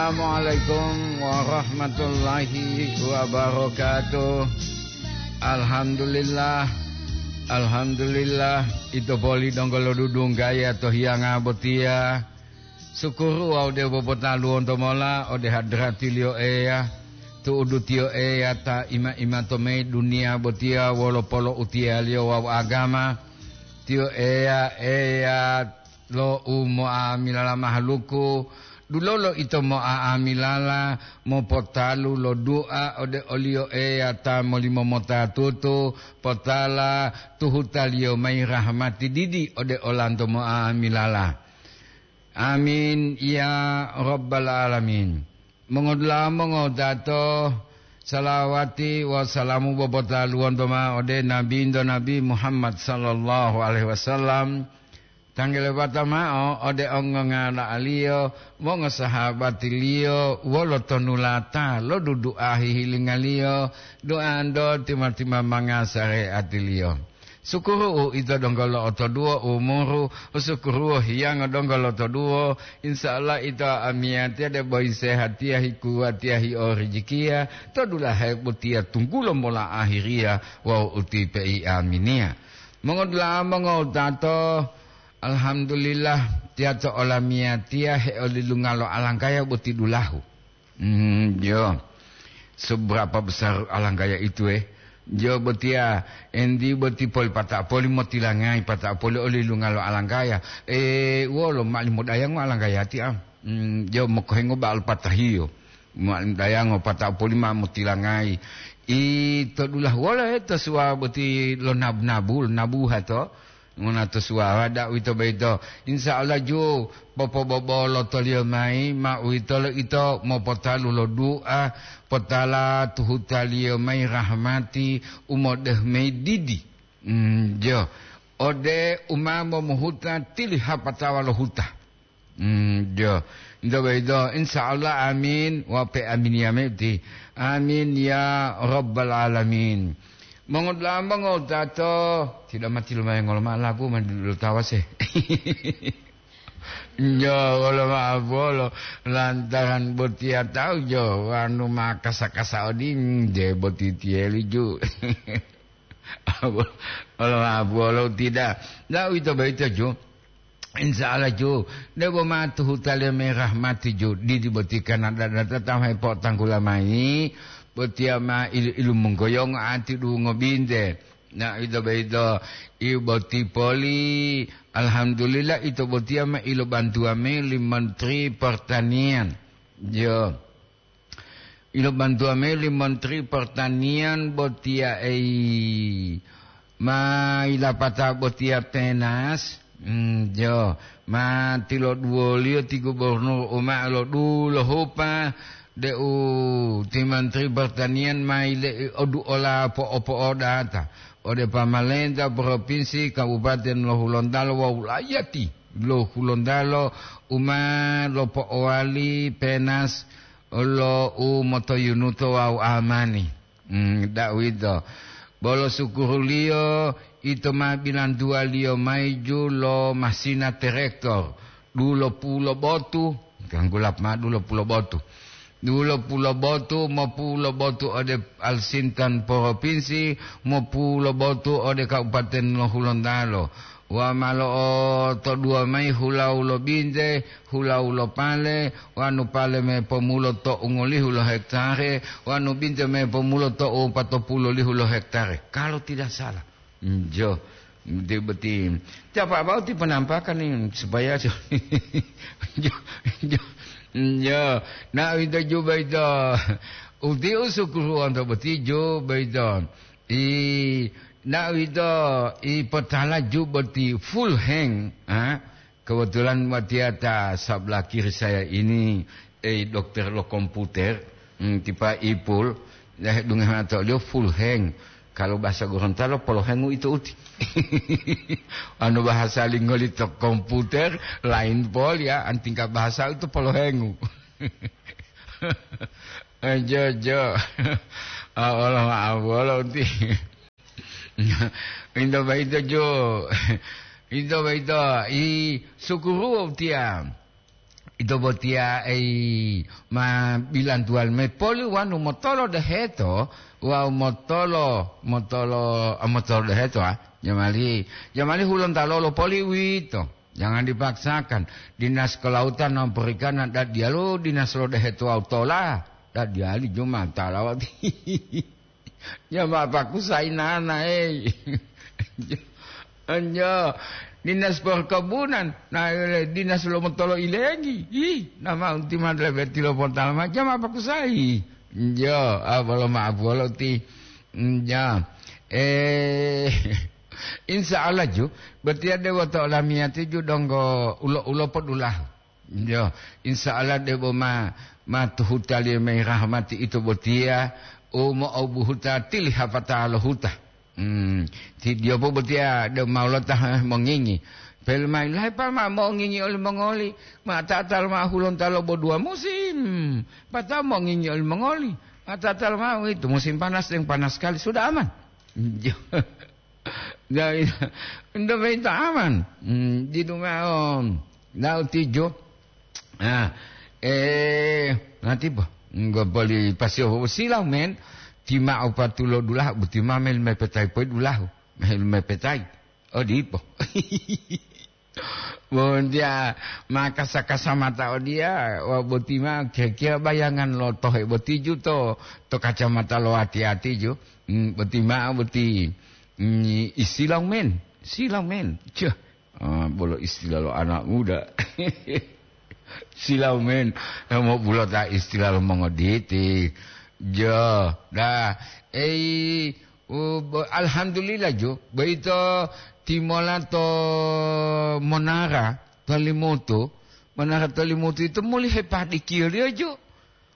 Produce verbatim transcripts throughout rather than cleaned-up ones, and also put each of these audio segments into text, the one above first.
Assalamualaikum warahmatullahi wabarakatuh. Alhamdulillah. Alhamdulillah. Ito poli donggo lodudunggaya to hiyanga botiya. Sukuru wawu dewo potaluwonto mola ode hadratiliyo Eya, tu'udutiyo Eya ta ima-ima to mayi duniya botiya wolo polo'utiyaliyo wawu agama. Tiyo Eya, Eya lo umo'amilala mahaluku, dulolo ito mo'amilala mopotalu lo du'a ode oliyo Eya ta molimomota tutu, potala tuhutaliyo mayi rahmati didi ode olanto mo'amilala. Amin, ya Rabbal Alamin. Mongodula'a mongowutato, salawati wawu salamu bobotaluwonto ma'o ode Nabinto Nabi Muhammad sallallahu alaihi wasallam, tanggelebata ma'o ode ongongala'aliyo, mongosahabatiliyo, wolo tonulata lo dudu'a hihilingaliyo, du'anto tima-timamanga sare'atiliyo. Sukuru'u ito donggo lo'otoduwo umuru, sukuru'u hiyango donggo lotoduwo, insya Allah ito amiyatiya debo hisehatiya, hikuwatiya, hiorijikiya, to dulahe botiya tunggulo mola ahiriya wawu utipe'i aminiya. Mongodula'a mongowutato, alhamdulillah, tiyato olamiyatiya heolilunga lo alangkaya boti dulahu. Hmm, jo. Seberapa besar alangkaya itu, eh? Jo botiya, endi boti poli pata'o poli motilangayi, pata'o poli olilunga lo alangkaya. Eh, wolo ma'alimo dayango alangkaya ti am? Hmm, jo mokohengo ba'al patahiyo. Ma'alimo dayango pata'o poli ma motilangayi. Ito dulahu wolo, eh, to suwa boti lo nabu-nabu, lo nabuha to? Mona to suwara, da'u ito boyito, insya Allah ju popobobolo toliyo mayi, ma uwitolo ito mopotalu lo du'a, potala tuhutaliyo mayi rahmati u modehu mayi didi. Mm, jo. Ode u ma momuhuta tili hapatawa lo huta. Mm, jo. Ito boyito, insya Allah, amin. Wa pe aminiya meti. Amin ya Rabbal Alamin. Mongodula'a mongowutato, tidak mati lumayan ngolo ma'o lagu mandi dulu tawase. Nyo, wolo ma'o bolo, lantaran botiya tawu jo, wanu ma kasa-kasa oding, je boti tiyeli ju. Wolo ma'o bolo tidak. Nah, uwito boyito ju. Insya Allah, ju, debo ma tuhutaliyo mayi rahmati, ju, didi boti kana dada-dada ta ma hepotanggula mayi, botiya ma ilu-ilu monggoyongo ati duhu ngobinte. Na ito boyito, i boti poli, alhamdulillah, ito botiya ma ilobantuwa mayi li Menteri Pertanian. Yo. Ilobantuwa mayi li Menteri Pertanian botiya ei, ma ilapata botiya penas, mm, jo, ma tiloduwoliyo ti gubernur u ma lodulohupa deu ti Menteri Pertanian ma ile'i oduola po'o-po'odata ode pamalenta propinsi, kabupaten lo Hulontalo wawu layati lo Hulontalo u ma lopo'owali penas lo u motoyunuto wawu amani. Hmm, da'uwito. Bolo sukuruliyo, ito ma bilantuwaliyo mayi ju lo masina terektor, dulo pulo botu, ganggulap ma dulo pulo botu. Dulo pulo botu, mopulo botu ode Alsintan Propinsi, mopulo botu ode Kabupaten lo Hulontalo. Wa ma lo'otoduwa mayi hulawu lo binte, hulawu lo pale, wanu pale me pomulo to ungolihu lo hektare, wanu binte me pomulo to upatopulolihu lo hektare, kalau tidak salah. Njo, boti, boti. Capa bau ti penampakan ni supaya jo, jo, jo. Njo, na ito ju boyito. Uti u sukuru onto boti ju boyito. I, na uwito, i potala ju boti full hang, ha? Kebetulan watiya ta sabla kiri saya ini, eh, dokter lo komputer, hmm, tipa Ipul, ya, dunge mata oliyo full hang. Kalau bahasa Gorontalo, polohengu ito uti. Anu bahasa linggo lito komputer, lain poli ya, antingka bahasa itu polohengu. Eh, jo, jo. Ah, Allah maaf, Allah uti. Into boyito jo. Into boyito, i sukuru tiya. Ito botiya ei ma bilantuwali mayi poli wonu motolo deheto, wawu motolo, motolo, ah, motolo deheto, ah. Jamali, jamali hulontalo lo poli uwito. Jangan dipaksakan. Dinas kelautan non perikanan dadiyalo dinas lo deheto wawu tola. Dadiyali juma talawati. Ya, ma pakusayi nana, ei. Enjo, dinas perkebunan, na, dinas lo motolo ilengi. Ih, nama unti ma lebe tilo potala ma, ja ma pakusayi. Enjo, abolo ma apuwolo ti. Enjo. Eh, insya Allah ju, berarti ade woto olamiyati ju donggo ulo-ulo podulahu. Yo, insya Allah debo ma, ma tuhutaliyo mayi rahmati ito botiya, u mo'obuhuta tili hapata lo huta. Hmm, ti diyopo botiya de ma lota mongingi. Pelmai, "Lahepa ma mongingi olimongoli, ma tatal ma hulontalo bo dua musim, patao mongingi olimongoli, ma tatal ma itu musim panas deng panas sekali, sudah aman." Yo. Nah, ento boyito aman. Hmm, didu ma'o. Nah, utijo. Ah, eh, nanti po. Nggopoli pasio silau men. Tima opatulo dulahu, buti ma mel mepetai poi dulahu. Mel mepetai. Oh, dipo. Bondia makasa-kasa mata odiya, wa boti ma kira-kira bayangan lo tohe boti ju to, to kacamata lo ati-ati ju. Hmm, boti ma boti, hmm, istilah men, silau men. Cih, ah, bolo istilah lo anak muda. Silau men, mo bulota istilah lo mongoditi. Jo, dah, ei, U, bo-, alhamdulillah ju, boyito timola to monara to Limutu. Monara to Limutu ito muli hepadikiyoliyo ju.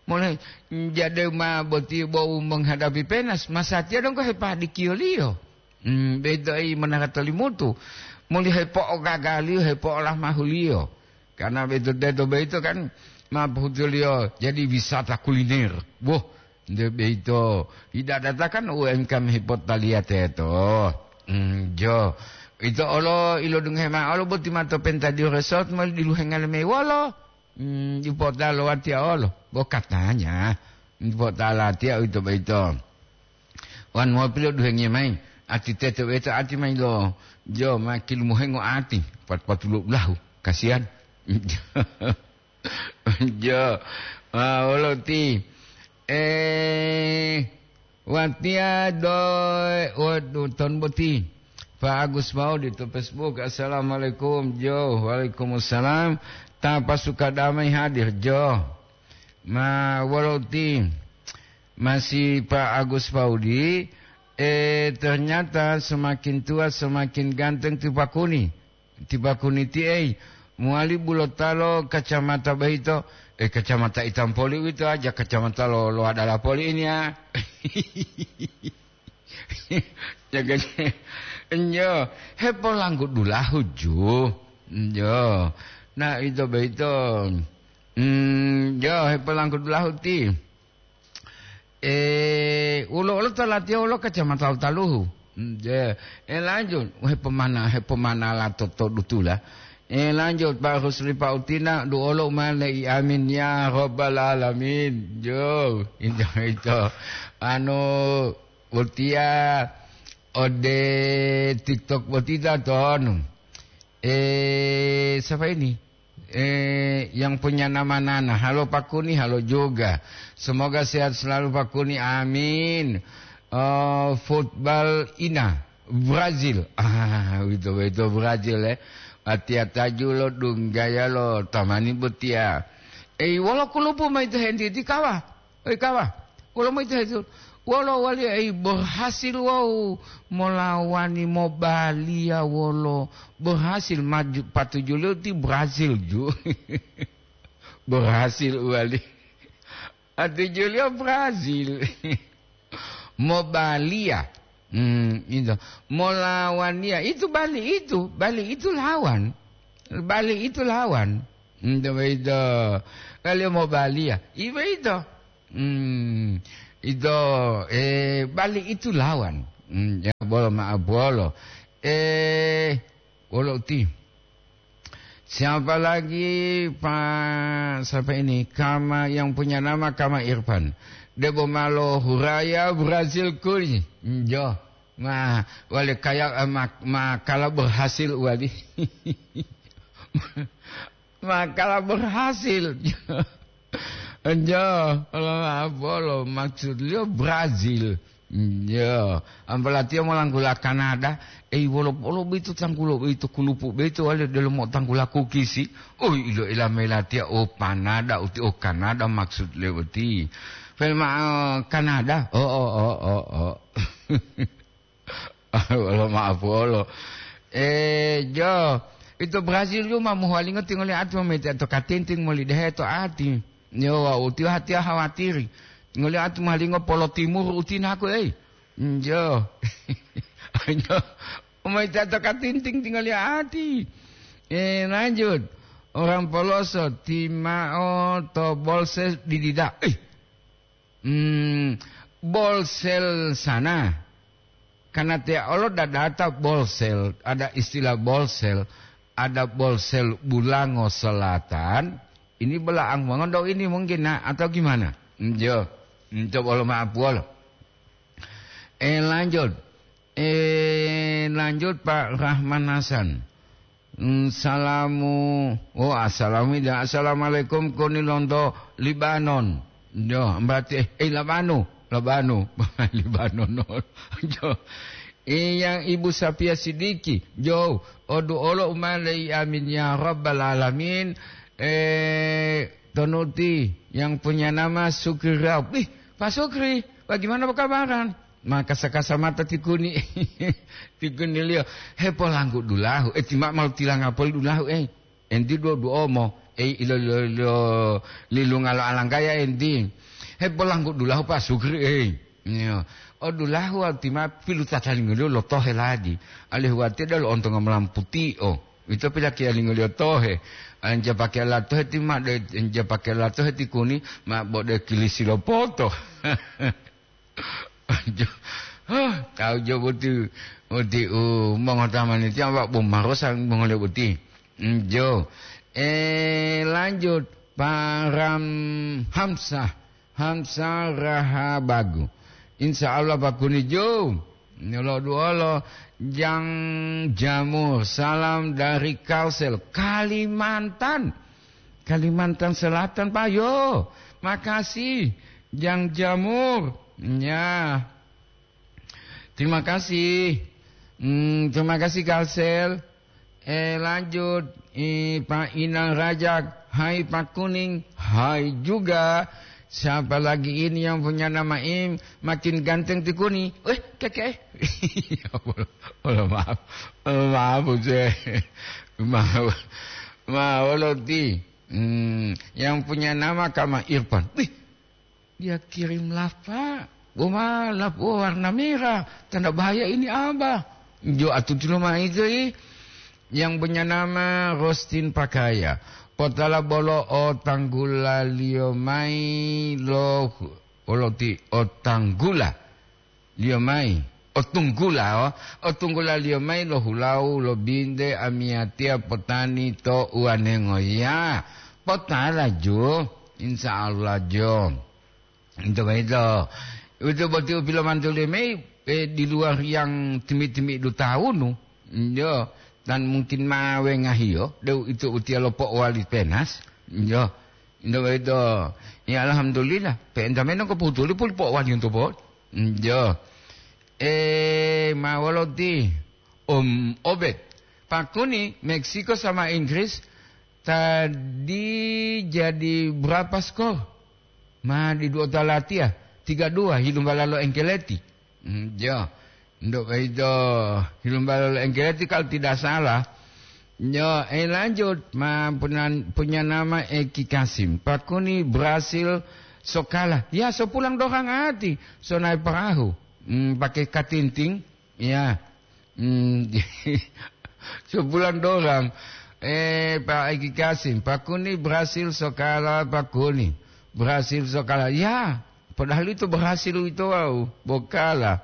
Muli jade ma boti bo u menghadapi penas, masatiya donggo hepadikiyoliyo. Hmm, boyito i monara to Limutu. Muli hepo'ogagaliyo, hepo'olamahuliyo. Karena boyito teto boyito kan ma pohutuliyo jadi wisata kuliner. Woh, Nde boyito, yidadata kan U M K M hipotaliya teto. Mm, jo. Ito olo ilodungohe ma'o olo boti ma to Pentadio Resort moli diluhenga lemei wolo. Mm, dipota lo watiya olo. Bo katanya. Dipota latiya uwito boyito. Wan mopi loduhengiyo mayi. Ati teto boyito ati mayi lo. Jo, ma kilumuhengo ati. Pat-, patulo ulahu. Kasihan. Jo, ah, wolo ti, eh, watiya do, waduh, ton boti. Pak Agus Maudi to Facebook, "Assalamualaikum." Jo, "Waalaikumsalam." Ta pasuka damai hadir, jo. Ma, wolo ti, masih Pak Agus Maudi, eh, ternyata semakin tua semakin ganteng ti Pak Kuni. Ti Pak Kuni ti ei, mowali bulota lo kacamata boyito, eh, kacamata itam poli uwito aja, kacamata lo, lo adala poli ini, ah. Jaga, nyo, hepolanggu dulahu ju. Nyo. Nah, ito boyito, mm, nyo, hepolanggu dulahu ti. Eh, ulo-ulo to latiya wolo kacamata lo taluhu. Hmm, je. Eh, lanjut, hepomana-, hepomanala to, to dutula. Eh, lanjut, Pak Rusli Pak Utina, duolo mane i amin ya rabbal alamin. Jo, ito, ito. Anu, botiya ode TikTok botita tonu. Eh, siapa ini? Eh, yang punya nama Nana. Halo Pak Kuni, halo juga. Semoga sehat selalu Pak Kuni. Amin. Eh, football ina Brazil. Ah, itu, itu Brazil, eh. Atia taju lo dunggaya lo tamani botia. Eh, wolo kulupu ma itu henti ti kawa. Oi kawa, wolo moyitohetu, wolo waliya ei berhasil wawu molawani mobaliya wolo berhasil maju patujuliyo ti Brazil ju. Berhasil uwali. Atujuliyo Brazil. Mobaliya. Hmm, itu. Molawaniya. Itu bali itu. Bali itu lawan. Bali itu lawan. Hmm, itu, itu. Kaliyo mobaliya. Ibo itu. Hmm, ito, eh, bali itu lawan. Hmm, ya, bolo ma'a bolo. Eh, wolo uti. Siapa lagi, Pak? Siapa ini? Kama, yang punya nama Kama Irfan. Debo malo Huraya Brazil kuli. Jo. Ma, wale kaya, eh, ma, ma kala berhasil wali. Ma kala berhasil. Jo, Allah maaf, bolo maksud liyo Brazil. Jo, apalagi tiyo molanggula Kanada. Eh, wolo, wolo boyito tanggulo boyito, kulupu boyito wale delomo tanggula kukisi. Oh, ilo ila melatiya, oh, Panada uti, oh, Kanada maksud liyo boti. Pelma, oh, Kanada. Oh, oh, oh, oh, oh. Wolo maaf wolo. Eh, jo, ito Brazil ju ma mohuwalingo tingoli ati momete to katinting moli dehe to ati. Yo, wa utiyo hatiya hawatiri. Tingoli ati mohuwalingo polo timur utinako, ei. Jo. Jo. Umaita to katinting tingoli ati. Eh, lanjut. Orang poloso timao to bolses didida. Eh, Hmm, bolsel sana. Karena tiya olo dadata bolsel, ada istilah bolsel, ada bolsel Bulango Selatan. Ini belaang mongondo ini mungkin, nah, atau gimana? Hmm, jo. Hmm, coba lo maaf wolo. Eh, lanjut. Eh, lanjut, Pak Rahman Hasan. Hmm, salamu, oh, assalamu, assalamualaikum, koni lonto Libanon. Jo, berarti, eh, eh, Labanu, Labanu, Libanon. Jo. Eh, yang Ibu Sapia Sidiki, jo, odu olo umale, amin ya rabbal alamin. Eh, tonuti yang punya nama Sukri Raub. Ih, Pak Sukri, bagaimana perkabaran? Maka sakasa mata tikuni, tikuniliyo, "Hepolanggu dulahu, eh, tima malu tilanga poli dulahu, eh. Enti duo-duomo, eh, ilo, ilo, ilo, lilunga lo alanggaya enti. Hepolanggu dulahu, Pak Sukri, eh." Iyo. O dulahu, tima pilu tatalingoliyo lo tohe ladi. Alihu watiya dalo ontonga molamputi, oh. Ito pilakiya lingoliyo tohe. Anja pake la tohe tima de, anja pake la tohe tikuni, ma bode kilisi lo poto. Jo, hah, tahu jo boti, boti, uh, mongotamani tiang, Pak, bo marosa mongole boti. Mm, jo. Eh, lanjut, Pak Ram Hamsah, Hamsah Rahabagu. Insya Allah, Pak Kuni jo. Nyolo duolo, Jang Jamur, salam dari Kalsel, Kalimantan. Kalimantan Selatan, Pak, yo. Makasih, Jang Jamur. Ya. Terima kasih. Hmm, terima kasih, Kalsel. Eh, lanjut. Eh, Pak Inang Rajak. Hai, Pak Kuning. Hai juga. Siapa lagi ini yang punya nama Im? Makin ganteng ti Kuni. Eh, keke. Wolo, wolo maaf. Wolo maaf, Buse. Maaf. Ma, wolo ti. Hmm, yang punya nama Kama Irfan. Wih, dia kirim lapa. Boma lapo warna merah. Tanda bahaya ini, Abah. Jo atuti lo maitu, i. Yang punya nama Rostin Pakaya. Potala bolo o tanggulaliyo mai lo, bolo ti o tanggula liyo mai. O tunggula, o, o tunggula liyo mai lo hulau lo binte amiyatiya potani to uwanengo. Ya, potala jo. Insya Allah jo. Ito boyito. Ito boti u pilomantuliyo mayi, eh, di luar yang timi-timi dutawunu. Iyo, dan mungkin ma wengahiyo, de'u ito utiya lo po'owali penas. Iyo. Ito boyito. Ya, alhamdulillah. Pe'enta meno ko putuli puli po'owali untu po. Iyo. Eh, ma woloti? Om Obed. Pakuni Meksiko sama Inggris tadi jadi berapa skor? Ma di dua talatiya, tiga dua, hilumbala lo Engkeleti. Hmm, jo. Ndo kaido hilumbala lo Engkeleti kalau tidak salah. Yo, eh, lanjut, ma punan-, punya nama Eki Kasim. Pakuni Brasil sokala. Ya, so pulang dorang ati, so naik perahu. Hmm, pakai katinting. Ya. Hmm, so pulang dorang. Eh, Pak Eki Kasim, Pakuni Brasil sokala, Pakuni. Brasil sokala. Ya, padahal itu berhasil itu, wow, bokala.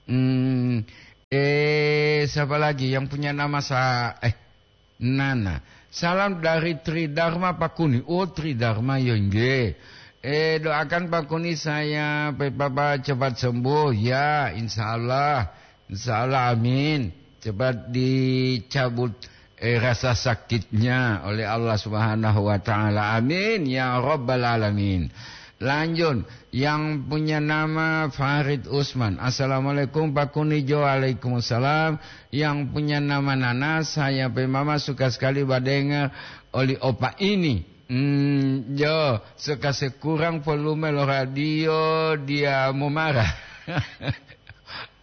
Hmm, eh, siapa lagi yang punya nama sa-, eh, Nana. Salam dari Tri Dharma Pakuni. Oh, Tri Dharma, ya nggih. Eh, doakan Pakuni saya, Pe Papa, cepat sembuh. Ya, insya Allah. Insya Allah, amin. Cepat dicabut, eh, rasa sakitnya oleh Allah Subhanahu wa Ta'ala. Amin, ya Rabbal Alamin. Lanjut, yang punya nama Farid Usman. Assalamualaikum, Pakuni Jo. Waalaikumsalam. Yang punya nama Nana, saya pe mama suka sekali badengar oli opa ini. Hmm, Jo, suka sekurang volume lo radio, dia mau marah.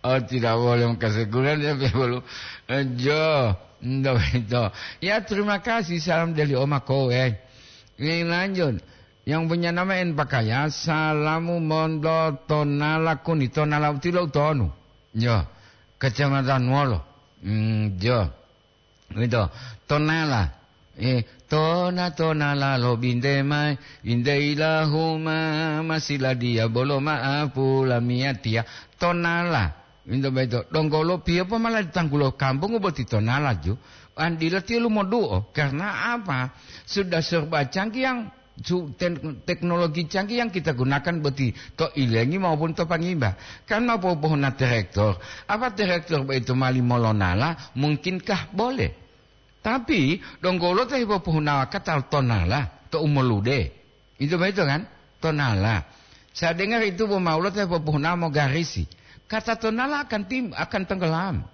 Oh, tidak boleh mengkasekuran, dia pe bolu. Eh, Jo, ndak itu. Ya, terima kasih, salam dari Oma Kowe. Yang lanjut, yang punya nama En Pakaya, salamu mondo Tonala Kuni, Tonala utilo utonu. Jo, kecamatan Wolo. Hmm, Jo. Wito, Tonala. Eh, tona, Tonala lo binte mai, binte ilahuma, masila dia bolo ma'apu lamiyatiya. Tonala. Wito beto, donggolo piyo po mala ditanggulo kampung boti Tonala ju. Andila tiyo lumoduo. Karena apa? Sudah serba canggih yang su-, ten-, teknologi canggih yang kita gunakan boti to ilengi maupun to pangimba. Kan mau pohona traktor. Apa traktor boyito mali molonala? Mungkinkah boleh? Tapi, donggo wolo ta hipopohunawa kata tonala to umolude. Itu boyito kan? Tonala. Saya dengar itu bo maulo ta hipopohunawa mogarisi. Kata tonala akan tim-, akan tenggelam.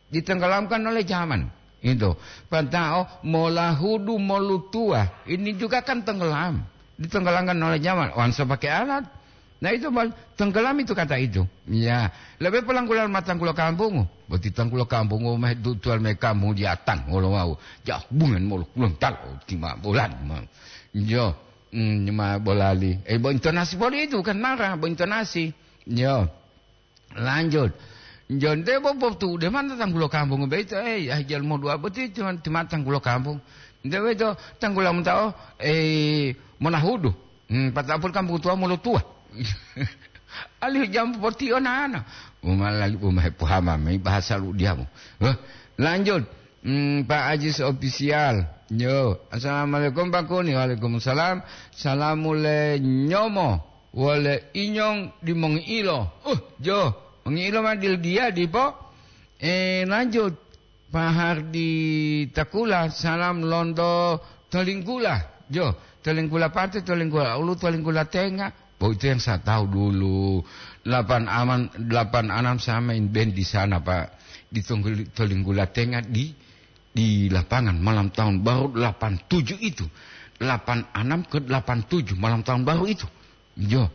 Ditenggelamkan oleh zaman. Itu. Pantao molahudu molutua. Ini juga kan tenggelam. Ditenggelamkan oleh zaman. Wansa pakai alat. Nah, itu mal-, tenggelam itu kata itu. Ya. Lebih pelanggulan matanggulo kampung. Boti tanggulo kampung, oh, meh dutual meh kampung diatang, wolo wau. Jahbungan molo kulon talo, tima bolan. Ma-, yo. Hmm, ma bolali. Eh, bo intonasi boli itu kan marah, bo intonasi. Yo. Lanjut. Jonte bo potu de mana tanggulo kampung beito, eh, ya jal mo dua boti cuma, cuma tanggulo kampung. Nte beito tanggulo mutao, eh, monahudu. Hmm, patapul kampung tua mulu tua. Alihu jam poti onana. Umalali umahe puhama mai bahasa lu diamu. Heh, lanjut. Hmm, Pak Ajis Official. Yo, assalamualaikum Pak Kuni. Waalaikumsalam. Salamu le nyomo. Wole inyong di mongi'ilo. Uh, jo, mongi'ilo ma dil dia dipo. Eh, lanjut. Pak Hardi Takula, salam lonto Tolinggula. Jo, Tolinggula Pate, Tolinggula Ulu, Tolinggula Tenga. Oh, itu yang saya tahu dulu. Delapan aman, delapan anam saya main band di sana, Pak. Di Tonggul-, Tolinggula Tenga di, di lapangan malam tahun baru delapan tujuh itu. Delapan anam ke delapan tujuh malam tahun baru itu. Jo.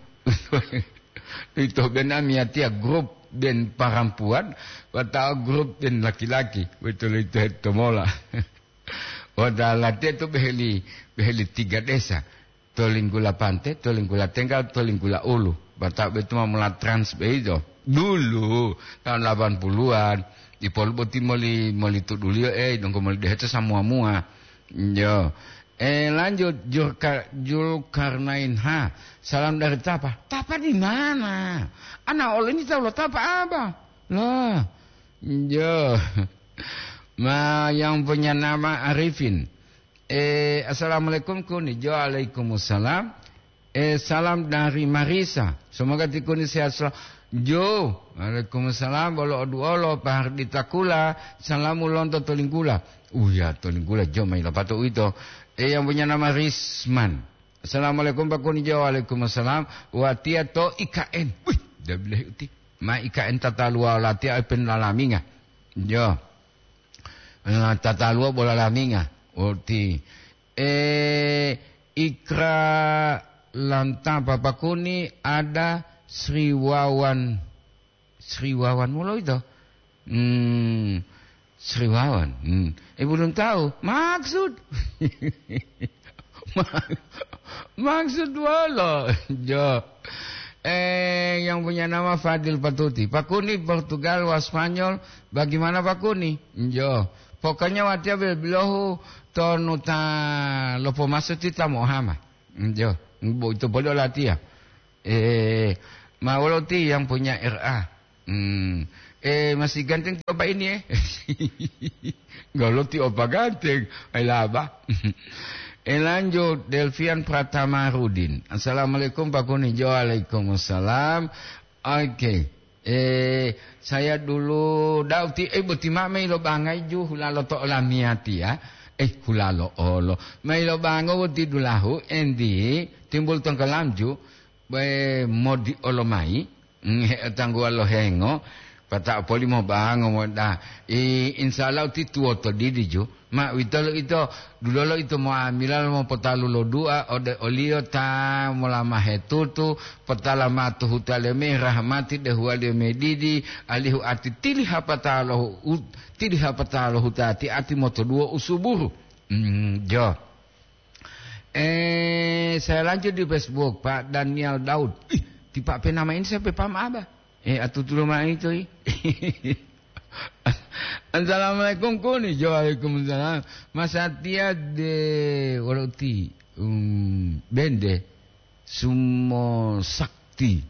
Ito bena miatia grup ben parampuan, watau grup ben laki-laki. Betul itu, itu mola. Wata latihan tu beheli, beheli tiga desa. Tolinggula Pante, Tolinggula Tenggal, Tolinggula Ulu. Batau betu ma mula trans beijo. Dulu, tahun delapan puluhan. Di polu boti moli, moli tuduliyo, eh, dongko moli deheto samua-mua. Yo. Eh, lanjut, Julka-, Julkarnain. Ha, salam dari Tapa. Tapa di mana? Ana oleh ini tahu lo Tapa apa? Lah. Yo. Ma, yang punya nama Arifin. Eh, assalamualaikum, Kuni Jo. Waalaikumsalam. Eh, salam dari Marisa. Semoga ti Kuni sehat selalu. Jo. Waalaikumsalam. Bolo oduolo, Pak Hardi Takula. Salamu lonto Tolinggula. Uya, Tolinggula, Jo, mai lapato uwito. Eh, yang punya nama Risman. Assalamualaikum, Pak Kuni Jo. Waalaikumsalam. Watia to I K N. Wih, dabilahi uti. Ma I K N tata luwa latia pen lalaminga. Jo. Eh, tata luwa bola laminga. Uti. Eh, Ikra Lanta Papakuni ada Sri Wawan. Sri Wawan mulo ito. Hmm, Sri Wawan. Hmm. Eh, belum tahu. Maksud. Ma-, maksud wolo. Jo. Eh, yang punya nama Fadil Patuti. Pakuni Portugal wa Spanyol. Bagaimana Pakuni? Jo. Pokoknya watia bilohu tonu ta lopo maso ti ta mohama. Njo, bo ito poli olatiya. Eh, ma wolo ti yang punya R A? Hmm. Eh, masih ganteng ti opa ini, eh? Golo ti opa ganteng. Ai laba. Eh, lanjut, Delvian Pratama Rudin. "Assalamualaikum, Pak Kuni." Jo, waalaikumsalam. Oke. Eh, saya dulu, dau ti, eh, boti ma mei lo bangai ju hulalo to olamiyati, ya. Eh, hulalo olo. Mei lo bango boti dulahu, endi, timbul tongkolam ju, be modi olo mai. Mm, he, tangguwa lo hengo, pata'o poli mobango moda. I, insya Allah uti tuwoto didi ju. Ma uwito lo ito, dulolo ito moamila lo mopotalu lo dua ode oliyo ta molama hetutu, potala matu hutale me rahmati dehuwaliyo medidi, alihu ati tili hapata lo hu-, u-, tili hapata lo hutati ati motoduwo usuburu. Mm, jo. Eh, saya lanjut di Facebook, Pak Daniel Daud. Ih, ti Pak pe nama ini saya pe paham apa? Eh, atutu lo ma'o ito, ih. Assalamualaikum, Kuni. Jo, waalaikumsalam. Mas Satya de, wolo uti, um, bende, Sumo Sakti.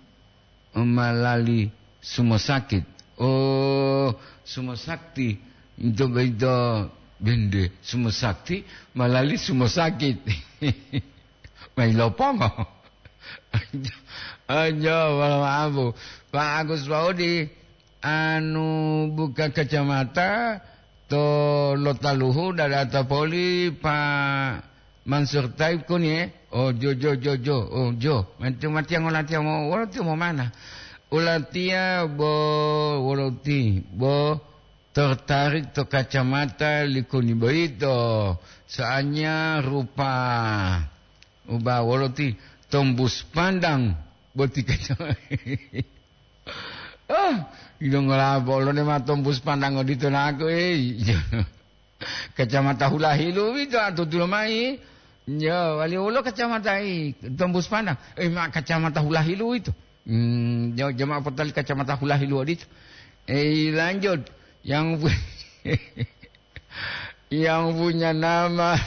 Malali Sumo Sakit. Oh, Sumo Sakti. Ito boyito bende Sumo Sakti, malali Sumo Sakit. Mai lopongo. Aja, wala maapu. Pak Agus Paudi, anu buka kacamata to lotaluhu dadata poli Pak Mansur Taib kuni, eh? Oh, jo, jo, jo, jo. Oh, jo. Mati, mati yang ulatiya mo, wolo tiyo mo mana? Ulatiya bo, wolo ti, bo tertarik to kacamata likuni boyito. Soalnya rupa uba wolo ti tombus pandang boti kacamata. Ah, ilongola bolo ne ma tombus pandang odito naku, eh. Kacamata hulahilu wito atutulo mai. Ya, wali wolo kacamata i tombus pandang. Eh, ma kacamata hulahilu wito. Hmm, ya, jamaah potali kacamata hulahilu odito. Eh, lanjut. Yang pu-, yang punya nama,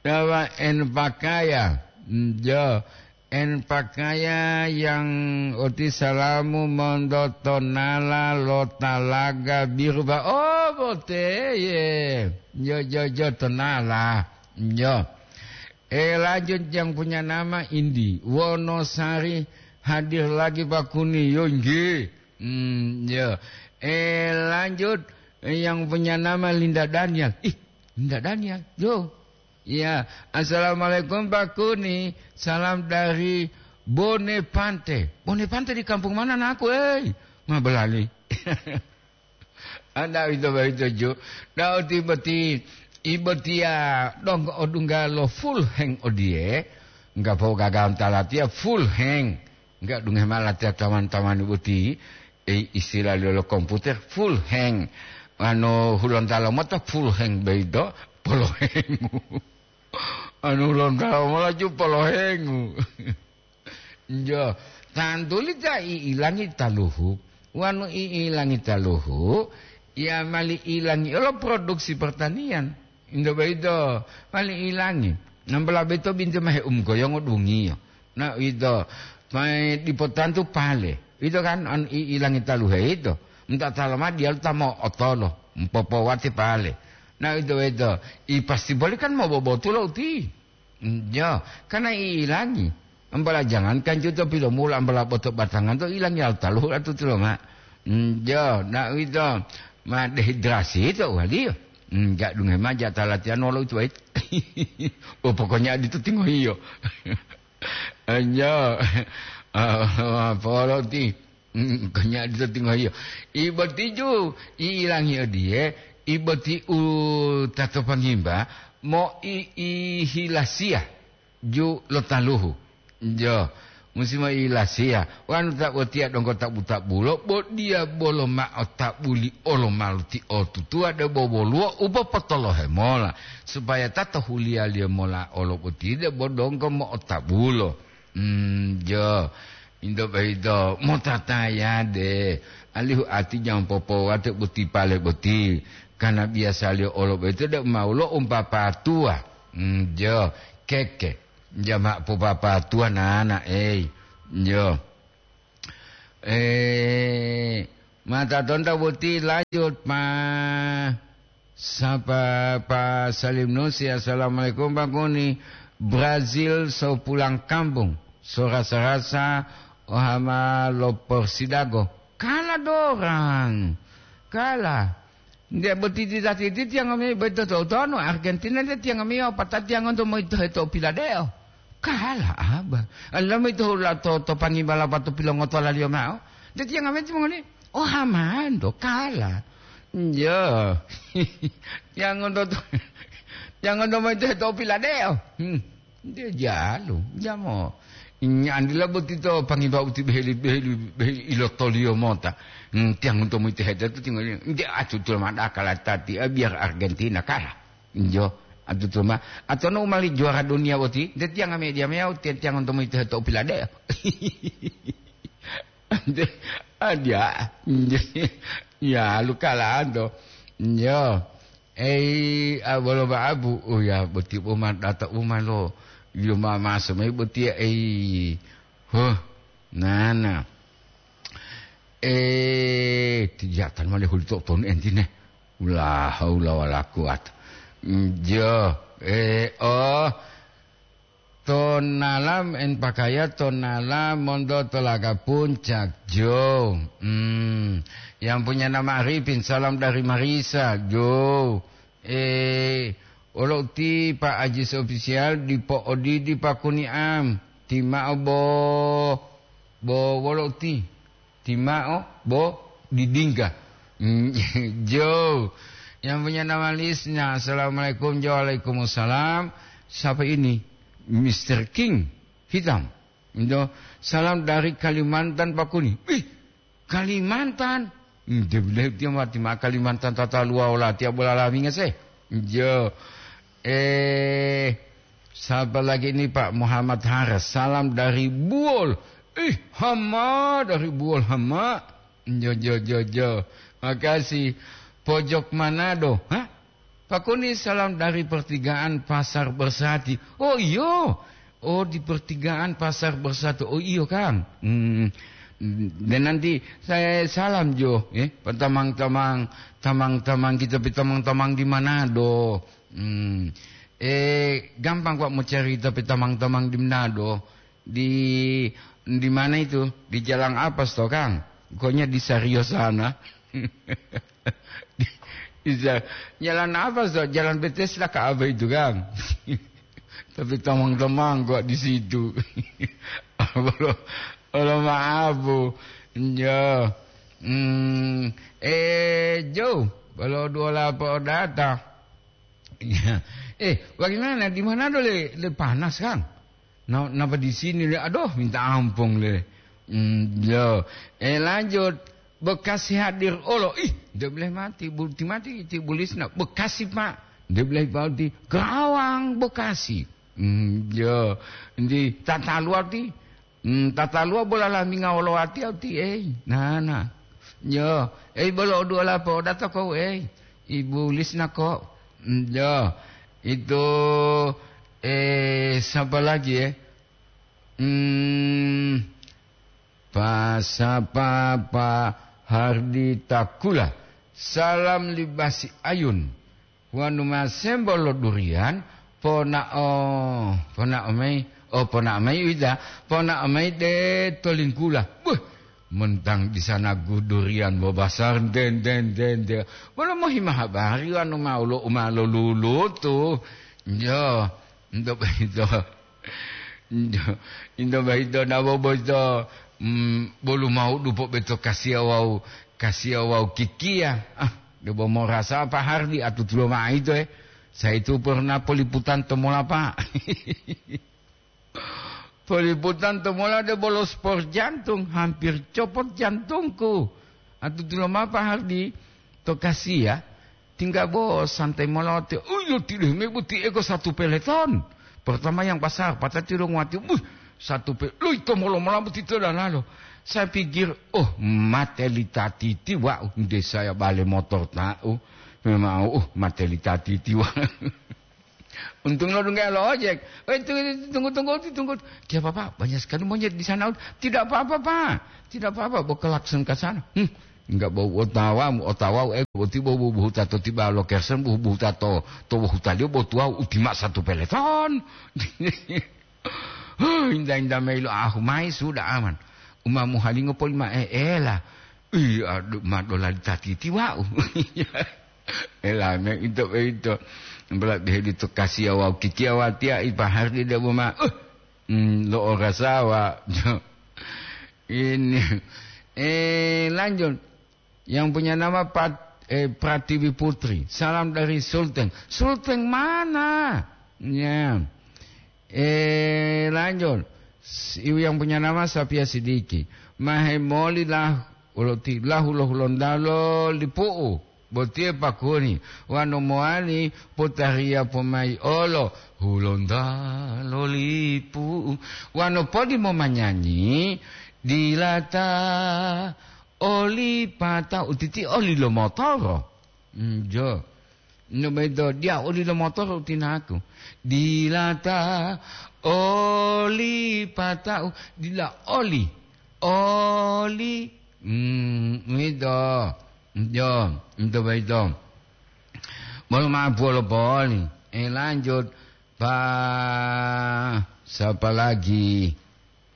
nama En Pakaya. Hmm, ya. En Pakaya yang oti salamu monto tonala lo talaga biru ba. Oh, boteye. Yo, yo, yo, tonala. Yo. Eh, lanjut yang punya nama Indi. Wonosari hadir lagi Pak Kuni. Yo, nggih. Hmm, yo. Eh, lanjut yang punya nama Linda Daniel. Ih, Linda Daniel. Yo. Iya, "Assalamualaikum Pak Kuni, salam dari Bonepante." Bonepante di kampung mana naku, eh? Ma belali. Anda ito boyito ju. Dau ti boti, ibotiya donggo odungga lo full hang odiye. Enggak po gagawan talatiya full hang. Enggak dunge mala tiya taman-taman boti. Eh, istilah lo komputer full hang. Anu, hulontalo mota full hang boyito, polohengu. Anu, hulontalo mola ju polohengu. Jo, tantuli ta i'ilangi taluhu. Wanu i'ilangi taluhu, ya mali ilangi olo produksi pertanian. Into boyito, mali ilangi. Nambola boyito binti mahe umgoyongo dungiyo. Na uwito, ma dipo tantu pale. Uwito kan, an i-, ilangi taluhe yito. Nta taloma diyalu ta mo'otolo, mpopowate pale. Na uwito-wito, i pasti boli kan mobobotulo uti. Njo, karena i ilangi. Ambola jangankan juto pilomula, ambola boto batangan to ilangi al taluhu atutulo ma. Njo, na uwito, ma dehidrasi to waliyo. Nja dunge ma jata latihan wolo uwito wait. Oh, pokoknya adito tingohiyo. Anjo, ah, polo ti, mm, kanya dito tingohiyo. Ibotiju, ilangi odiye, iboti u tato pangimba, mo i, i hilasiya, ju lo taluhu. Jo, musi mo i hilasiya. Wanu ta botiya donggo tabu-tabulo, bo diya bolo mao tabuli olo maluti otutuwa debo woluwo u popotolohe mola, supaya ta to huliyaliyo mola olo boti debo donggo mo'otabulo. Hmm, jo, into boyito motatayade, alihu ati jangan popowate boti pale boti, karena biyasaliyo olo boyito debo maulo umpapatuwa. Hmm, jo, keke, jama popapatuwa nana, ei, jo. Eh, mata tonta boti lanjut, Pa. Sapa Pa Salim Nusi, "Assalamualaikum, Pak Kuni. Brazil so pulang kampung, so rasa-rasa ohama lo Porsidago." Kala dorang. Kala. Nde boti titati titiang ami boyito to utonu, Argentina titiang ami opatatiang onto moyito heto piladeo. Kala aba. Allah moyito hula to, to pangi bala pato pilongotolaliyo mao. Titiang ami timongoli, oh, hamando, kala. Njo. Tiang onto to, tiang onto moyito heto piladeo. Hmm. Nde jalu, jamo. Nyandila boti to pangiba uti beheli, beheli, beheli ilotoliyo mota. Hmm, tiang onto moyito heto tu tinggal, nde atu tu mada kala tati, ah, biar Argentina kalah. Njo, atu tu ma. Atau no umali juara dunia boti, nde tiang ame dia mea, tiang, tiang onto moyito heto piladeo. Nde, ah, dia. Nde, ya, lu kalah to. Njo. Ei, a, bolo ba'abu, uya boti uma data uma lo, yoma maso mai botiya, ei. Huh, nana. Eh, tijatan male huli to tonu entine. La haula wala quwata. Njo, eh, oh. Tonala en pakaya, tonala monto tolaga puncak, Jo. Hmm. Yang punya nama Arifin, salam dari Marisa, Jo. Eh, olo uti Pak Ajis Official, dipo odidi Pak Kuniam. Timao bo, bo wolo uti. Timao bo didingga. Hmm, Jo. Yang punya nama Lisna, "Assalamualaikum." Jo, "Waalaikumsalam." Siapa ini? Mister King Hitam. Jo, "Salam dari Kalimantan, Pak Kuni." Wih, Kalimantan? Hmm, dia bilang dia mati ma Kalimantan tata luwa ola tiap bola laminga se. Jo. Eh, siapa lagi ini, Pak Muhammad Haras? "Salam dari Buol." Ih, hama dari Buol, hama. Jo, jo, jo, jo. Makasih. Pojok Manado. Hah? Pak Kuni, salam dari pertigaan Pasar Bersati. Oh, iyo. Oh, di pertigaan Pasar Bersati. Oh, iyo, Kang. Hmm. Dan nanti saya salam, Jo, eh, petamang-tamang, tamang-tamang kita, petamang-tamang di Manado. Hmm. Eh, gampang kok mau cari tapi tamang-tamang di Manado. Di, di mana itu? Di Jalan Apas toh, Kang? Pokoknya di Sario sana. Di, di Sa-, Jalan Apas toh? Jalan Bethesda ke apa itu, Kang? Tapi tamang-tamang kok di situ. Kalau, kalau maaf, Bu. Ya. Hmm, eh, Jo, kalau dua lapo data. Iya. Eh, bagaimana? Di mana dole le panas, Kang? Na-, napa di sini le? Aduh, minta ampun le. Hmm, yo. Eh, lanjut. Bekasi hadir olo. Ih, dia boleh mati. Bu-, ti mati, ti bulisna. Bekasi, Pak. Dia boleh mati. Kerawang, Bekasi. Hmm, yo. Di tata luar ti. Hmm, tata luwa bola laminga wolo watiya uti, ei, nana. Yo, ei, bolo oduola po'odato kou, ei, Ibu Lisna ko. Hmm, yo, itu, eh, sapa lagi, eh? Hmm, pa sapa, Pa Hardi Takula. Salam libasi ayun. Wonu ma sembo lo durian, ponao, ponao mayi, o ponao mayi uwita, ponao mayi de to lingkula. Buh, mentang di sana gu durian bobasar, den, den, den, den. Wolo mohima habari wonu ma ulo u ma lolulutu. Yo, ento boyito. Ento, ento boyito nabo boyito, mm, bolu maudu pobeto kasiya wawu, kasiya wawu kikiya. Ah, debo morasa Pak Hardi atutulo ma'o ito, eh. Saya itu pernah peliputan to mola, Pak. Peliputan to mola debo lo spor jantung, hampir copot jantungku. Atutulo ma'o Pak Hardi to kasiya. Tingga bo santai molote, uyo tidehu me boti ego satu peleton. Pertama yang pasar, patati lo nguwati, buh, satu pe-, lo ito molo-molo boti to dalalo. Saya pikir, oh, mate li tatiti wa'u, nde saya bale motor ta'u. Memang, oh, mate li tatiti wa'u. Untung lo dungga lo ojek. "Eh, tunggu, tunggu, tunggu, tunggu." "Kenapa, Pak? Banyak sekali monyet di sana." "Tidak apa-apa, Pak. Tidak apa-apa." Bawa klakson ke sana. "Hmm, enggak bau otawa, otawa, eh, boti bau, bau, bau tato tiba lo kersen, bau, bau tato, to bau tali, bau tuau, utima satu peleton." Huh, inda-inda mayi lo ahu mayi sudah aman. Uma muhalingo poli ma eela. Ih, adu, ma dolali tatiti wau. Elame ito, ito. Bela beheli to kasiya wau kikiya watiya ipahari de boma. Uh, hmm, lo orasawa. Ini. Eh, lanjut. Yang punya nama Pat-, eh, Pratiwi Putri. Salam dari Sulteng. Sulteng mana? Ya. Eh, lanjut. S-, ibu yang punya nama Sapia Sidiki. Mahemoli lah, uloti lahu lo Hulontalo Lipu'u. Botiye pakuni. Wano mowali potariya pomai olo. Hulontalo Lipu'u. Wano podi momanyanyi. Dilata oli pata utiti oli lo motoro. Njo. No bedo dia oli lo motoro utinaku. Dilata oli pata'u, dila oli. Oli. Hmm, itu. Njo, itu bedo. Bolo ma bolo boli. Eh, lanjut. Pa, siapa lagi?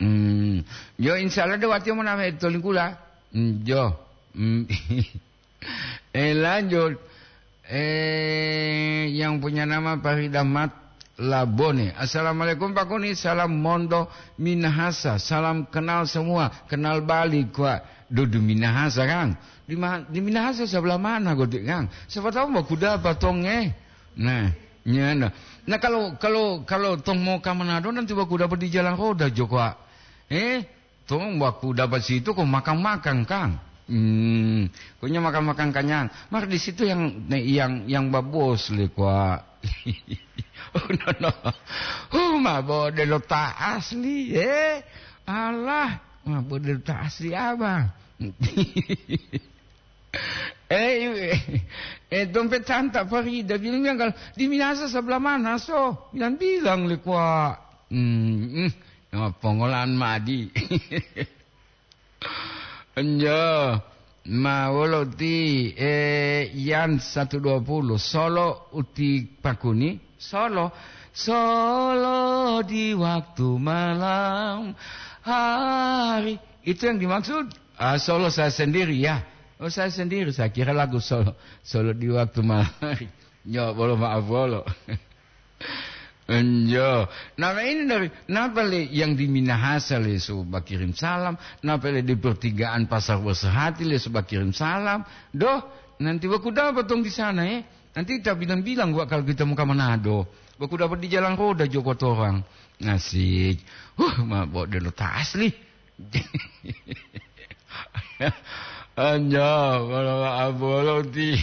Hmm. Yo, insya Allah de watiya moname to lingkula. Hmm, jo. Hmm. Eh, lanjut. Eh, yang punya nama Farida Mat Labone. "Assalamualaikum, Pak Kuni. Salam Mondo Minahasa. Salam kenal semua. Kenal balik, Pak." Dudu Minahasa, Kang. Di ma-, di Minahasa sebelah mana, Godik, Kang? Siapa tahu mau kuda apa tonge. Nah, nyana. Nah, kalau, kalau, kalau tong mau ka Manado, nanti baku dapat di jalan roda, Joko, ah. Eh, tong baku dapat situ kok makan-makan, Kang. Hmm, pokoknya makan-makan kenyang. Maka di situ yang, yang, yang babos le, kwa. Oh, no, no. Huh, ma bode lo ta asli, eh. Alah, ma bode lo ta asli, Abang. Eh, eh, dompet santa Farida bilang, bilang, "Kalau di Minasa sebelah mana, so?" Bilang-bilang le, kwa. Hmm, hmm. Nah, pongolan madi. Enjo, ma wolo ti, eh, Yan satu dua puluh, solo uti pakuni, solo, solo di waktu malam hari. Itu yang dimaksud. Ah, solo saya sendiri, ya. Oh, saya sendiri, saya kira lagu solo, solo di waktu malam hari. Nyo, bolo maaf, bolo. Enjo. Nama ini dari, napa le yang di Minahasa le suba kirim salam, napa le di pertigaan Pasar Bersehati le suba kirim salam. Doh, nanti baku dapat dong di sana, eh. Nanti kita bilang-bilang gua kalau kita mau ke Manado. Baku dapat di jalan roda Joko Torang. Asik. Huh, ma bode lo ta asli. Anja, bolo, bolo ti.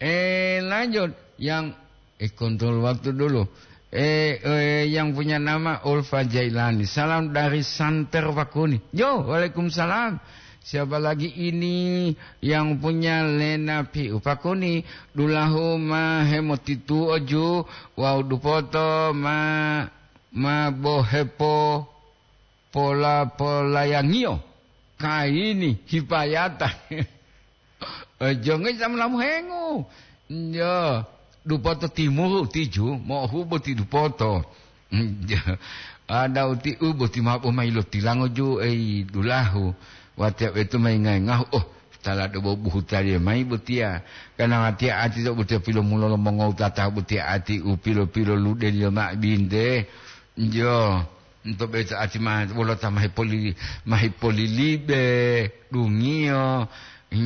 Eh, lanjut. Yang, eh, kontrol waktu dulu. Eh, eh, yang punya nama Ulfa Jailani. Salam dari Santer Pakuni. Yo, waalaikumsalam. Siapa lagi ini yang punya Lena Piu Pakuni? Dulahu ma hemotitu oju, wau dupoto ma, ma bohepo pola-polayangiyo, kayini hipayata. Eh, jonge samulamu hengu. Yo, dupoto timuru tiju, mo'ohubo ti dupoto. Ada uti u boti mabo mayi lo tilango ju, ei, dulahu. Watiya wetu mayi ngayi ngahu, oh, tala do bobuhu taliye mayi botiya. Kana watiya ati to botiya pilomulo lo mongowutata botiya ati u pilo-pilo ludeliyo ma binte. Jo, nto beta ati ma wolo ta mahi poli-, mahi polilibe, dungiyo,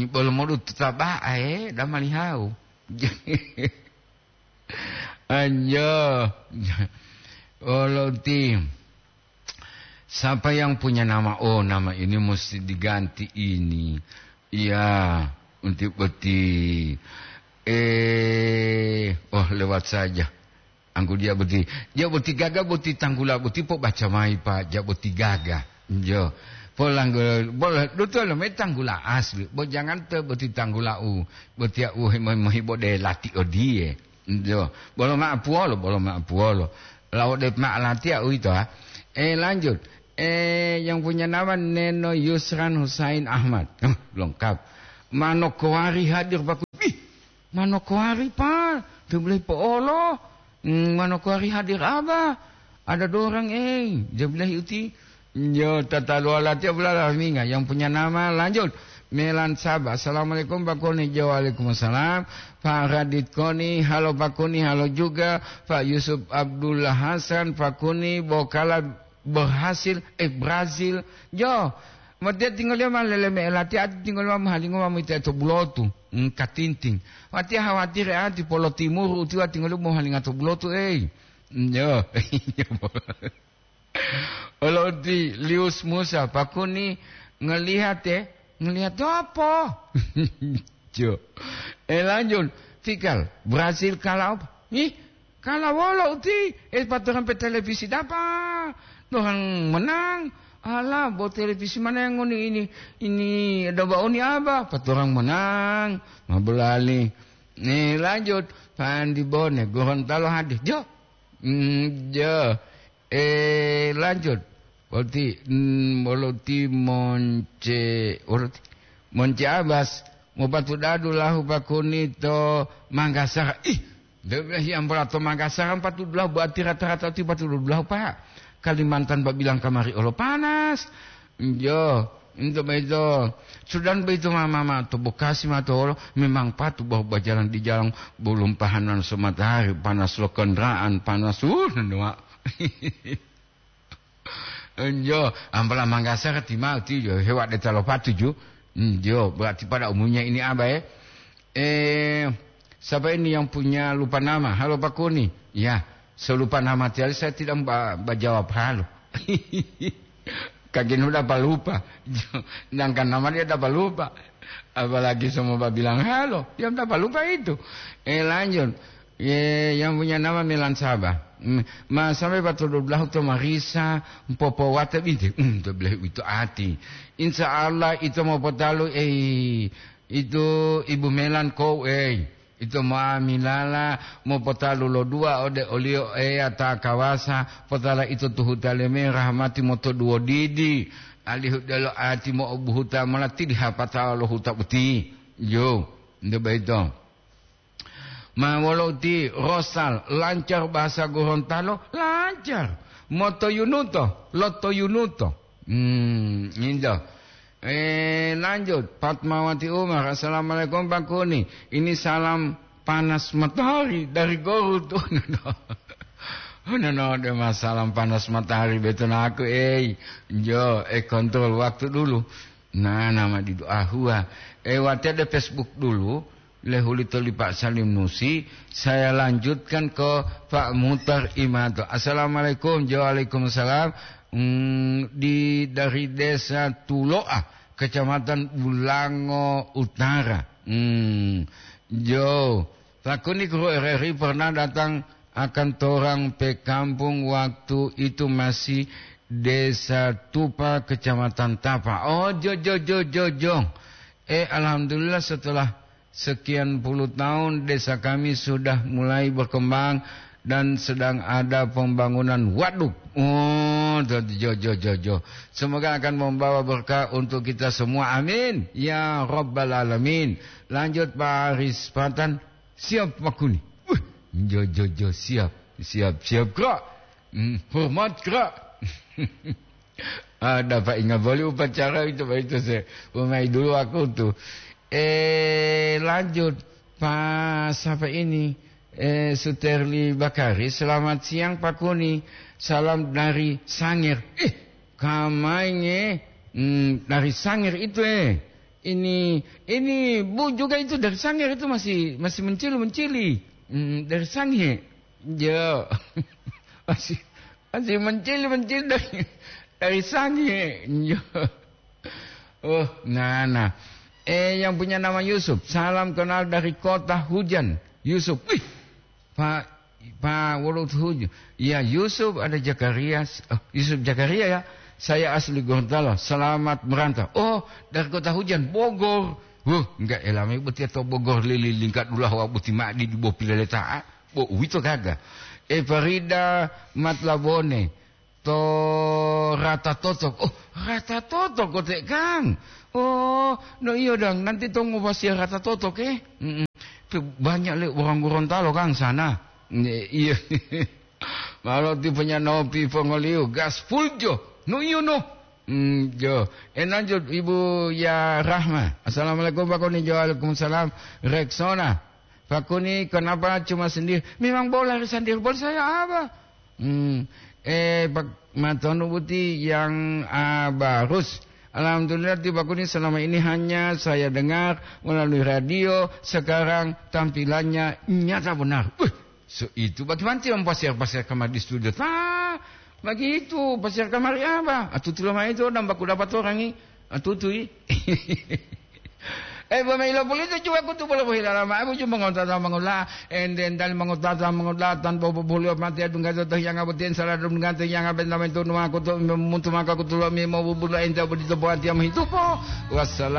bolo modu taba'a, eh, damalihawu. Anjo. Wolo ti. Siapa yang punya nama? Oh, nama ini mesti diganti ini. Iya, untuk boti. Eh, oh, lewat saja. Angku dia boti. Dia boti gaga, boti tanggula, boti po baca mai, Pak. Dia boti gaga. Jo. Polang, bola, dutu lo me tanggula asli. Bo jangan te boti tanggula u. Boti u mohi-, mohi bode lati odie. Yo, bolo ma'apuwolo, bolo ma'apuwolo. Lawo de ma'alatiya uwito, ha. Eh, lanjut. Eh, yang punya nama Neno Yusran Husain Ahmad. Huh, lengkap. Manokowari hadir, Pak. Ih, Manokowari, Pak. Tebelei po'olo. Hmm, Manokowari hadir, Abah. Ada dorang, eh. Tebelei uti. Yo, tataluwa latiya bulala minga yang punya nama. Lanjut. Melan Saba. Assalamualaikum, Pak Koni. Jo, waalaikumsalam. Pak Radit Koni. Halo, Pak Koni. Halo juga. Pak Yusuf Abdullah Hasan. Pak Koni. Bokala berhasil. Eh, Brazil. Jo. Matiya tinggoliyo ma lele me latiya ati tinggoliyo ma mohalingo ma mita to bulotu. Hmm, katinting. Watiya hawatire ati polo timuru utiwa tinggoliyo mohalinga to bulotu, eh. Yo. Olo uti Lius Musa, Pak Koni, ngelihat, eh, ngelihat apa? Jo. Eh, lanjut. Fikal, Brasil kalah apa? Ih, kalah wolo uti? Eh, patoran pe televisi dapa? Orang menang. Alah, bo televisi mana yang ngoni ini? Ini ada baoni apa? Patoran menang. Mabulali. Nih, lanjut. Pandi Bone, Gorontalo hadir. Jo. Hmm, jo. Eh, lanjut. Berarti, mm, berarti Monce, berarti Monce Abbas, mau patu dadu lahu Pak Koni to Manggasar. Ih, de-, hiam bola to Manggasar, patu dulahu, berarti rata-rata ti patu dulahu, Pak. Kalimantan babilang kamari olo panas. Yo, itu begitu. Sudah begitu, mama, ma to Bekasi, ma to olo, memang patu bahwa berjalan di jalan belum pahanan so matahari, panas lo kendaraan, panas, uh, nua. Enjo, ampala Manggasar ti mau ti jo hewa de talo patu ju. Enjo, berarti pada umumnya ini apa, eh? Eh, siapa ini yang punya lupa nama? Halo, Pak Koni. Ya, selupa nama tiali saya tidak ba-, bajawab halo. Kagin udah apa lupa. Sedangkan nama dia udah apa lupa. Apalagi semua bilang halo, dia udah apa lupa itu. Eh, lanjut. Ye, yang punya nama Melan Saba. Mm, ma sampai batu dua belas to marisa, mpopo wate binte. Mm, to belah itu ati. Insya Allah itu mau potalu, eh, itu Ibu Melan ko, eh, itu mau milala, mau potalu lo dua ode olio, eh, ata kawasa, potala itu tuhuta leme rahmati moto duo didi. Alihu delo ati mo obuhuta mola tidi hapata lo huta uti. Yo, nde baito. Ma wolo uti Rosal, lancar bahasa Gorontalo, lancar. Motoyunuto, lotoyunuto. Hmm, injo. Eh, lanjut, Fatmawati Umar, "Assalamualaikum, Pak Kuni. Ini salam panas matahari dari Garut." Oh, no, no. Oh, no, no, de ma salam panas matahari beto naku, eh. Jo, eh, kontrol waktu dulu. Nah, nama di doa hua. Eh, wate de Facebook dulu. Lehulito li Pak Salim Nusi, saya lanjutkan ke Pak Mutar Imato. "Assalamualaikum." Jo, waalaikumsalam. Hmm, di, dari Desa Tuloa, Kecamatan Bulango Utara. Hmm, jo, takuni guru R R I pernah datang akan torang pe kampung waktu itu masih Desa Tupa, Kecamatan Tapa. Oh, jo, jo, jo, jo, jo. Eh, alhamdulillah setelah sekian puluh tahun desa kami sudah mulai berkembang dan sedang ada pembangunan waduk. Oh, jo, jo, jo, jo, jo. Semoga akan membawa berkah untuk kita semua. Amin. Ya Rabbal Alamin. Lanjut, Pak Aris Patan. Siap, Pak Kuni. Wih, jo, jo, jo, siap. Siap, siap, Kak. Hmm, hormat, Kak. Ada Pak ingat boleh upacara itu, Pak, itu saya. Umai dulu aku tuh. Eh, lanjut. Pak, siapa ini? Eh, Suterli Bakari. "Selamat siang, Pak Kuni. Salam dari Sanger." Eh, kamainge. Hmm, dari Sanger itu, eh. Ini, ini Bu juga itu dari Sanger itu masih, masih mencili-mencili. Hmm, dari Sange. Jo. Masih, masih mencili-mencili dari, dari Sange. Jo. Oh, nah, nah. Eh, yang punya nama Yusuf. "Salam kenal dari kota hujan. Yusuf." Wih, Pak, Pak Wolotuhuju. "Ya, Yusuf ada Zakaria." Oh, Yusuf Zakaria ya. "Saya asli Gorontalo. Selamat merantau." Oh, dari kota hujan, Bogor. Huh, enggak elami boti atau Bogor lili lingkat dulawa boti ma'di di bo pileleta'a. Bo, uwito gaga. E Farida Matlabone to Rata Totok. Oh, Rata Totok kote, Kang. Oh, no iyo dang, nanti to ngobasiya Rata Totok, eh. Mm-mm. Pe-, banyak le orang Gorontalo, Kang, sana. Nge-, iya. Malo tipenya nopi pongoliu, gas full jo. No iyo no. Hmm, jo. Enanjo Ibu Ya Rahma. Assalamualaikum, Pak Koni. Jo, waalaikumsalam. Rexona. Pak Koni, kenapa cuma sendiri? Memang bola sendiri, bola saya apa? Hmm, eh, Pak Matono Buti yang, ah, barus. Alhamdulillah, ti Pak Koni selama ini hanya saya dengar melalui radio, sekarang tampilannya nyata benar. Wih, so itu bagaimana yang pasir-pasir kamar di studio? Tah, begitu, pasir kamar apa? Atutu lama itu, dan baku dapat orang ini. Atutui. Eh, bo mailo pulito cuwa kutu bolo bohilala ma'o, buju mongotata mongola, ende entali mongotata mongola, tanpa bobuliyo mati adungga to hiyanga botiyen sala dungga to hiyanga benta mentu nuwa kutu muntu maka kutulo mi mobubulo ente bodito bo atiya mohitupo. Wassalam.